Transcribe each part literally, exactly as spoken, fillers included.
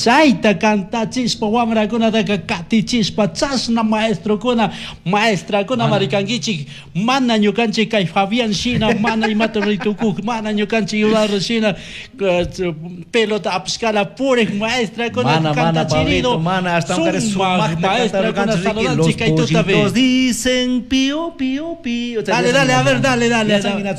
Chayta kantachishpa wamrakunataka katichishpa chashna maestrokuna maestrakuna marikankichik mana ñukanchik kay Fabián shina mana imata ritukuq mana ñukanchik Eduardo shina eh, pelota apishkala purik maestrakuna Mana, mana, kantachirido Pablito, mana, hasta un sumak maestrakuna Los saludanchik kay tutapi. Pollitos dicen pío, pío, pío. Dale, dale, a ver, dale, dale, dale.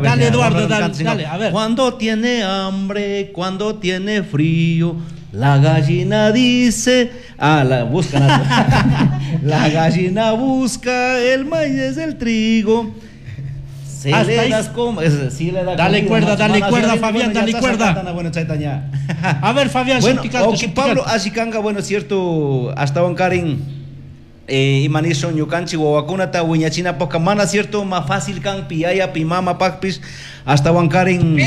Dale, Eduardo, dale, dale, a ver. Cuando tiene hambre, cuando tiene frío, la gallina dice, ah, la busca, la gallina busca el maíz del trigo. Se Hasta le ahí. das como, es, sí le da Dale comida, cuerda, macho, dale mana, cuerda, sí, Fabián, bueno, ya dale está cuerda. sacando, bueno, chaita ya. A ver, Fabián, Bueno, shuticanto, ok, Pablo, shuticanto. ashikanga, bueno, cierto, hasta Karin, eh, imanishun ñukanchik wawakunata wiñachinapaka mana cierto más fácil kan pi yaya pi mama pakpish hasta Karin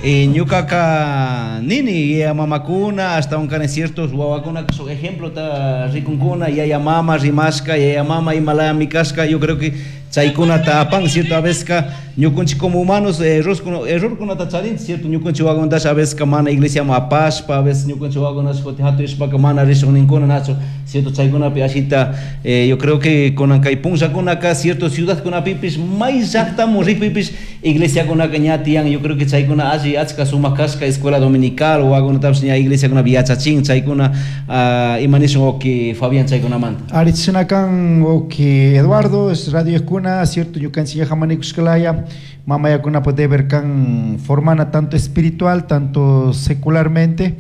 eh, ñukaka nini yaya mamakuna hasta Karin ciertos wawakuna son ejemplo ta rikunkuna yaya mama rimashka yaya mama imalaya mikashka. Yo creo que chaykunata apan, cierto, a veces ka ñukunchik como humanos eh, error errorkunata charinchik, cierto, ñukunchik wawakunatash a veces ka mana iglesia apashpa, a veces ñukunchik wawakunash kutin hatuyashpaka mana rishun ninkuna nachu, cierto, chaykunapi ashita eh, yo creo que kunan kay punllakunaka cierto ciudadkunapipish may llaktamun rikpipish iglesiakunaka ña tiyan. Yo creo que chaykuna alli achka sumak kashka, escuela dominical wawakunatapish ña iglesiakunapi yachachin chaykuna. ah, ima nishun okay Fabián chaykunamanta? Arichinakan okay Eduardo es radio escuna cierto ñukanchik yajamanikushkalaya mamayakuna deber kan formana tanto espiritual tanto secularmente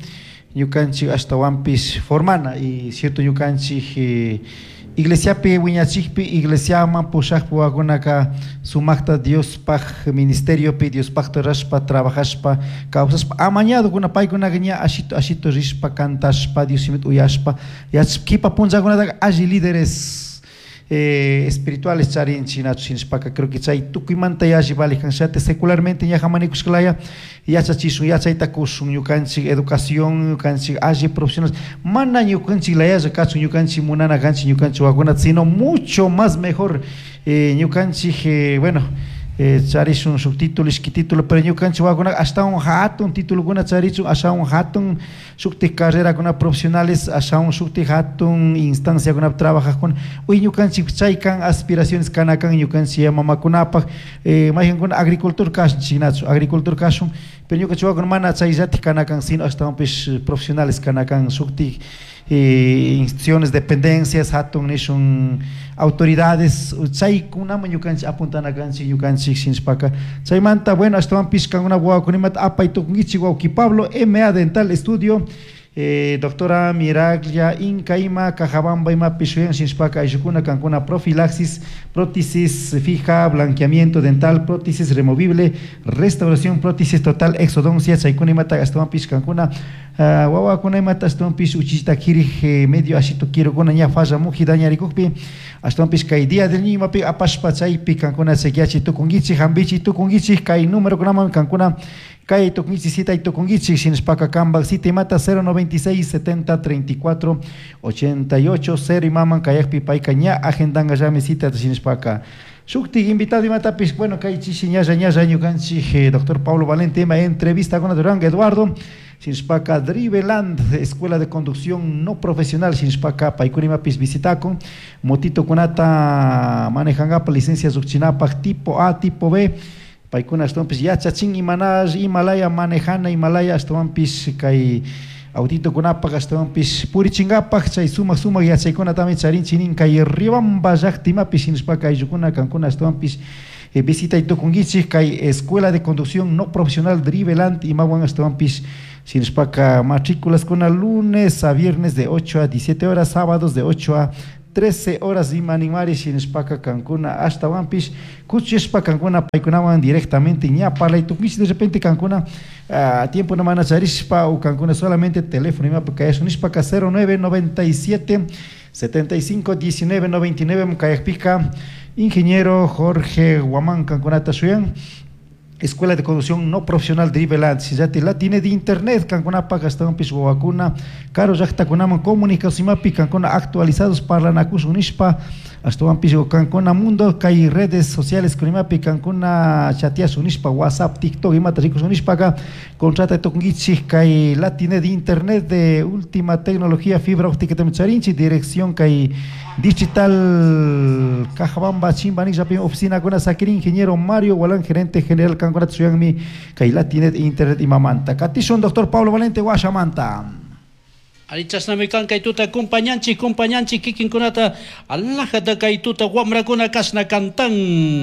ñukanchik ashtawanpish formana y cierto ñukanchik eh, iglesiapi wiñachikpi iglesiaman pushakpi wawakunaka sumakta Diospaj ministeriopi Diospajta rashpa trabajashpa kawsashpa amañadokuna paykunaka ña ashito ashito rishpa cantashpa Dios shimita uyashpa yachashpa kipa punllakunataka alli líderes eh, espirituales charinchik nachu shinashpaka creo que chay tukuymanta yalli valijan shate secularmente ña jamanikushkalaya yachachishun yachayta kushun ñukanchik educación ñukanchik alli profesionales mana ñukanchik layalla kachun ñukanchik munana kanchik ñukanchik wawakunata sino mucho más mejor eh, ñukanchik eh, bueno eh, charishun shuk título ishki título pero ñukanchik wawakuna ashtawan hatun titulokuna charichun ashawan hatun shuktik carrerakuna profesionales ashawan shuktik hatun instanciakunapi trabajajkuna uy ñukanchik chay kan aspiraciones kana kan ñukanchik mamakunapaj eh, mayjankuna agricultor kashunchik nachu agricultor kashun pero ñukanchik wawakuna mana chayllatik kana kan sino ashtawanpish profesionales kana kan shuktik eh, instituciones, dependencias, hatun nishun autoridades, chaykunaman ñukanchik apuntana kanchik ñukanchik shinashpaka chaymanta bueno ashtawanpish kankuna wawakunimata apay tukunkichik wawki Pablo M A Dental Estudio eh, doctora Miraglia Inca ima Cajabamba imapish shuyan shinashpaka ayllukuna kankuna profilaxis, prótesis fija, blanqueamiento dental, prótesis removible, restauración, prótesis total, exodoncia, chaykuna imata ashtawanpish kankuna uh, wawakuna imata ashtawanpish uchichita kirik eh, medio ashito kirukuna ña falla muji dañarikukpi ashtawanpish kay día del niño imapi apashpa chaypi kankuna chequeachi tukunkichik hampichi tukunkichik kay numerokunaman kankuna kay tukunkichik cita tukunkichik shinashpaka kambak cita imata cero noventa y seis setenta treinta y cuatro ochenta y ocho cero imaman kayakpi payka ña agendankallami cita shinashpaka shuktik invitado imatapish bueno kay chishi ñalla ñalla ñukanchik eh, doctor Pablo Valente ima entrevista con Duranga Eduardo shinashpaka Driveland Escuela de Conducción No Profesional shinashpaka paykuna imapis visitakun motito kunata manejankapa licencia llukchinapak tipo A tipo B paykuna ashtawanpish yachachin imanash imalaya manejana imalaya ashtawanpish kay autitokunapak ashtawanpish purichinkapak chay sumak sumak yachaykunatami charinchik nin kay Riobamba llakta imapish shinashpaka ayllukuna kankuna ashtawanpish eh, visitay tukunkichik kay Escuela de Conducción No Profesional Driveland imawan ashtawanpish shinashpaka matrículas kuna lunes a viernes de ocho a diecisiete horas, sábados de ocho a trece horas ima ninmari shinashpaka kankuna ashtawanpish kuchishpa kankuna paykunawan directamente ña parlay tukunkichik de repente kankuna uh, tiempo no mana charishpa o kankuna solamente teléfono imapi kayashun nishpaka cero nueve noventa y siete setenta y cinco diecinueve noventa y nueve kayakpika ingeniero Jorge Guamán kankunata shuyan. Escuela de Conducción No Profesional Driveland, sillati Latine de Internet, kankunapaj ashtawanpish wawakuna, karu llaktakunaman comunicacionmapi kankuna actualizados parlanakushun nishpa, ashtawanpish kankuna mundo kay redes sociales kunimapi kankuna chateashun nishpa, WhatsApp, TikTok imata rikushun nishpaka, contrata tukunkichik kay Latine de Internet de última tecnología fibra óptica charinchik, dirección kay digital Cajabamba Chimba nishpa oficina kuna sakirin ingeniero Mario Gualán, gerente general kankuna suyanmi kay Latinet Internet imamanta. Katishun doctor Pablo Valente Guashamanta. Ari chashnami kan kay tuta compañanchik compañanchik kikinkunata alajata kay tuta wamrakuna kashna cantan.